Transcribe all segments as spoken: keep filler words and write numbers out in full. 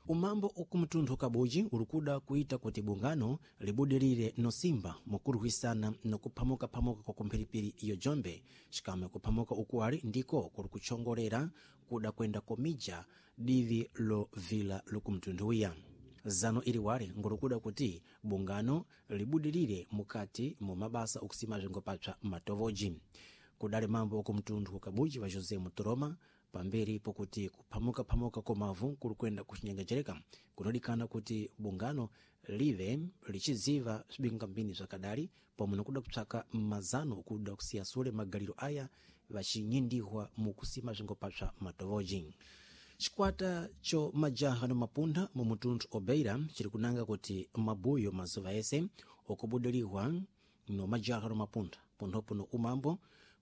Umambo ukumtunthu kabuji ulikuda kuita kuti bungano libudirire nosimba mukulwisana nokuphamuka-phamuka kwa kumphiripiri iyo jombe, xikamwe kuphamuka ukuwali ndiko kuli kutchongolera kuda kwenda komija divi lovila lokumtunthuwiya. Zano iliwali ngolikuda kuti bungano libudirire mukati mu mabasa okusima bzingopapsa matovoji. Kudali mambo okumtunthu kabuji wa José Mutoroma pamberi pokuti kuphamuka-phamuka komavu kuli kwenda kuchinyengejereka, kunodikana kuti bungano live lichiziva bzibingambini bzakadali pomwe nokuda kupsaka mazano kuda kusiya sule magaliro aya vacinyindihwa mukusima bzingopapsa matovoji. Cikwata cho majaha no mapunda mu mutunthu obeira chiri kunanga kuti mabuyo mazuva ese okubudilihwa no majaha no mapunda ponthopo no umambo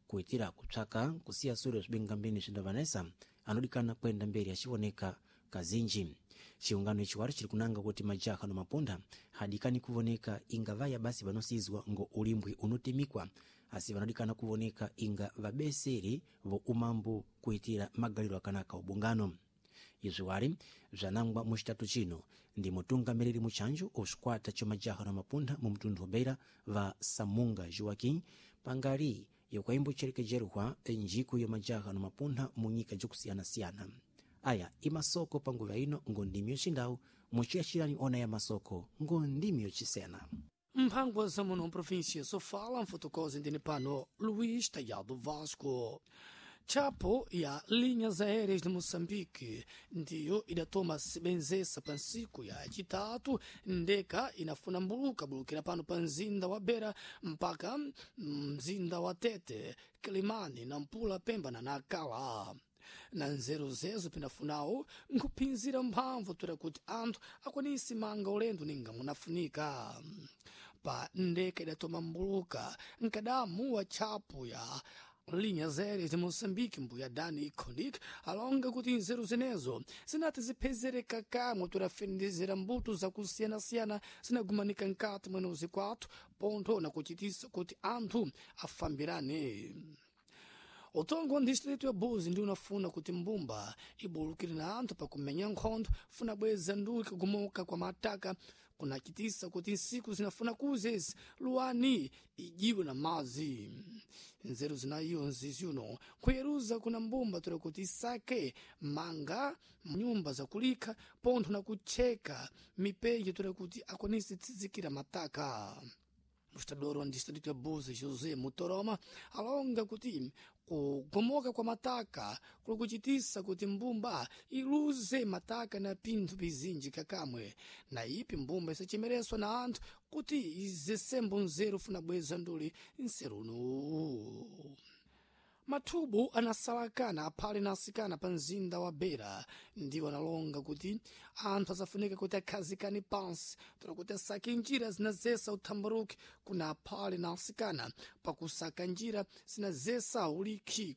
kuitira kupsaka kusiya sule bzibingambini bzindavanesa anodikana kwenda mberi acivoneka kazinji. Ciungano ici wari chiri kunanga kuti majaha no mapunda hadikani kuvoneka inga vaya basi vanosizwa ngo ulimbwi unotemikwa, asi vanodikana kuvoneka inga vabeseri vo umambo kuitira magaliro akanaka ubungano. Izvi wari bzanangwa mucitatu chino ndi mutungamiriri muchanjo ocikwata co majaha na mapunda mu mtundu wa Beira va Samunga Joaquim pangali yokaimbocherekejerwa njiku ya majaha na mapunda mu nyika jakusiyana-siyana. Aya imasoko panguva ino ngo ndimi yocindawu muciyacirani ona ya masoko ngo ndimi yocisena. Mphangwa za muno província Sofala, mfotokozi ndine pano Luís Taiado Vasco. Chapo ya Linhas Aéreas de Moçambique ndiyo idatoma sebenzesa pa nsiku ya chitatu ndeka inafuna mbuluka bulukira pano pa mzinda wa Beira mpaka mzinda wa Tete, Quelimane, Nampula, Pemba na Nacala. Na nzeru zezo pinafunawo nkuphinzira mphamvu toera kuti anthu akwanise manga ulendo ninga munafunika. Pa ndeka idatoma mbuluka nkadamu wa tchapo ya Linhas Aéreas de Moçambique, mbuya Dani Konik, alonga kuti nzeru zenezo zinati ziphezereka kamwe torafendezera mbuto zakusiyana-siyana zinagumanika nkati mwene uzikwathu pontho nakuchitisa kuti anthu afambirane. Utongo wa distrito ya Buzi ndi unafuna kuti mbumba ibulukire na anthu pakumenya nkhondo funa bweza nduki kugumoka kwa mataka kunachitisa kuti nsiku zinafuna kuzezi luwani ijiwe na mazi. Nzeru zinayiyo nzizi uno kuyeruza kuna mbumba toera kuti isake manga nyumba zakulikha pontho na kutcheka mipeji toera kuti akwanise tsizikira mataka. Mostrador wa distrito ya Buzi José Mutoroma alonga kuti kugomoka kwa mataka kuli kuchitisa kuti mbumba iluze mataka na pinthu pizinji kakamwe, na ipi mbumba isachemereswa na anthu kuti izesembo nzeru funa bweza nduli nseruno. Mathubu anasalakana aphale na asikana pa mzinda wa Beira ndiwo analonga kuti anthu asafunika kuti akhazikane pansi toera kuti asake njira zinazesa uthambaruki kuna aphale na asikana pakusaka njira zinazesa ulikhi.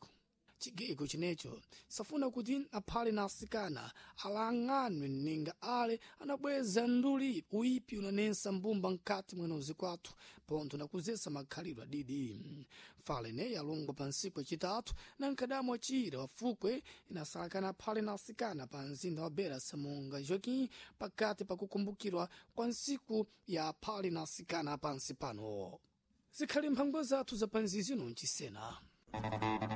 Chigego chinecho safuna kuti aphale na asikana alang'anwe ninga ale anabweza nduli uipi unanensa mbumba nkati mwene uzikwathu pontho nakuzesa makhalidwe adidi. Fale neyi alongwa pa nsiku yacitatu na nkadamu acira wafukwe inasalakana aphale na asikana pa mzinda wa Beira Samunga Joaquim pakati pakukumbukirwa kwa nsiku ya aphale na asikana pansi pano. Zikhali mphangwa zathu za panzizino ncisena.